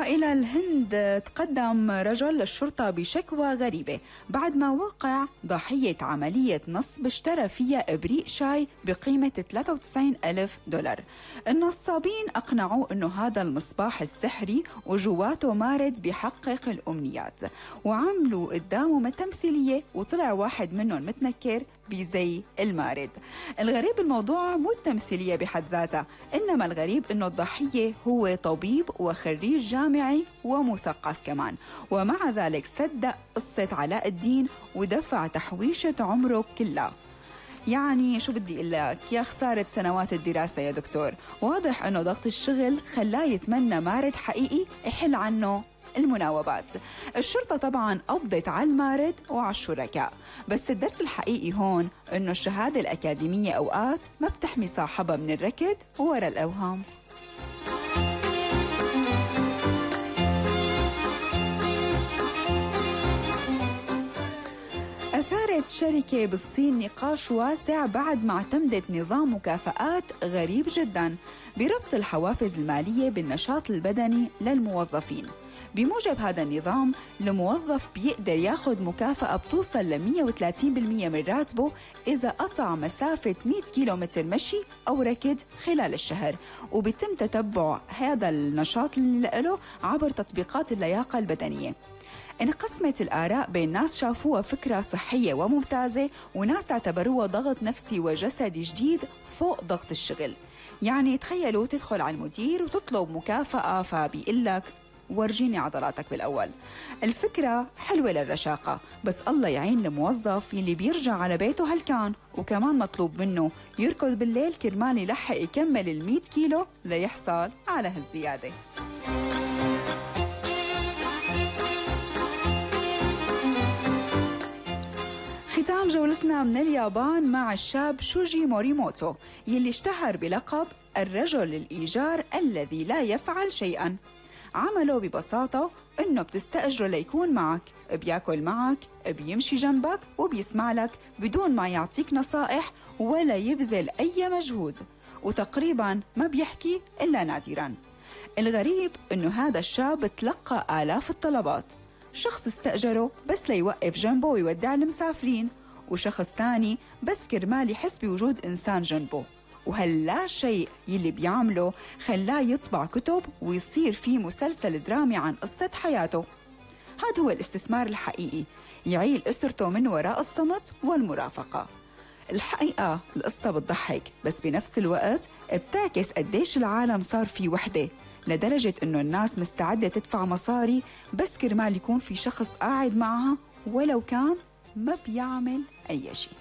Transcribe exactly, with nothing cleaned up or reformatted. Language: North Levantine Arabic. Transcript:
وإلى الهند تقدم رجل للشرطة بشكوى غريبة بعد ما وقع ضحية عملية نصب اشترى فيها إبريق شاي بقيمة ثلاثة وتسعين ألف دولار. النصابين أقنعوا أنه هذا المصباح السحري وجواته مارد بيحقق الأمنيات، وعملوا قدامه تمثيلية وطلع واحد منهم متنكر بزي المارد. الغريب الموضوع مو التمثيلية بحد ذاتها، إنما الغريب إنه الضحية هو طبيب وخريج جامعي ومثقف كمان، ومع ذلك صدق قصة علاء الدين ودفع تحويشة عمره كلها. يعني شو بدي أقول لك، يا خسارة سنوات الدراسة يا دكتور. واضح إنه ضغط الشغل خلاه يتمنى مارد حقيقي يحل عنه المناوبات. الشرطة طبعاً قبضت على المارد وعلى الشركاء، بس الدرس الحقيقي هون إنه الشهادة الأكاديمية أوقات ما بتحمي صاحبها من الركض وراء الأوهام. أثارت شركة بالصين نقاش واسع بعد ما اعتمدت نظام مكافآت غريب جداً بربط الحوافز المالية بالنشاط البدني للموظفين. بموجب هذا النظام الموظف بيقدر ياخد مكافأة بتوصل ل مية وثلاثين بالمية من راتبه إذا قطع مسافة مية كيلومتر مشي أو ركض خلال الشهر، وبيتم تتبع هذا النشاط اللي له عبر تطبيقات اللياقة البدنية. انقسمت الآراء بين ناس شافوها فكرة صحية وممتازة، وناس اعتبروها ضغط نفسي وجسدي جديد فوق ضغط الشغل. يعني تخيلوا تدخل على المدير وتطلب مكافأة فبيقول لك ورجيني عضلاتك بالأول. الفكرة حلوة للرشاقة، بس الله يعين الموظف يلي بيرجع على بيته هلكان، وكمان مطلوب منه يركض بالليل كرمال يلحق يكمل المية كيلو ليحصل على هالزيادة. ختام جولتنا من اليابان مع الشاب شوجي موريموتو يلي اشتهر بلقب الرجل الإيجار الذي لا يفعل شيئاً. عمله ببساطة إنه بتستأجره ليكون معك، بياكل معك، بيمشي جنبك وبيسمع لك بدون ما يعطيك نصائح ولا يبذل أي مجهود، وتقريباً ما بيحكي إلا نادراً. الغريب إنه هذا الشاب تلقى آلاف الطلبات، شخص استأجره بس ليوقف جنبه ويودع المسافرين، وشخص تاني بس كرمال يحس بوجود إنسان جنبه. وهلا شيء يلي بيعمله خلاه يطبع كتب ويصير فيه مسلسل درامي عن قصة حياته. هذا هو الاستثمار الحقيقي، يعيل أسرته من وراء الصمت والمرافقة. الحقيقة القصة بتضحك، بس بنفس الوقت بتعكس قديش العالم صار فيه وحدة، لدرجة إنه الناس مستعدة تدفع مصاري بس كرمال يكون في شخص قاعد معها ولو كان ما بيعمل أي شيء.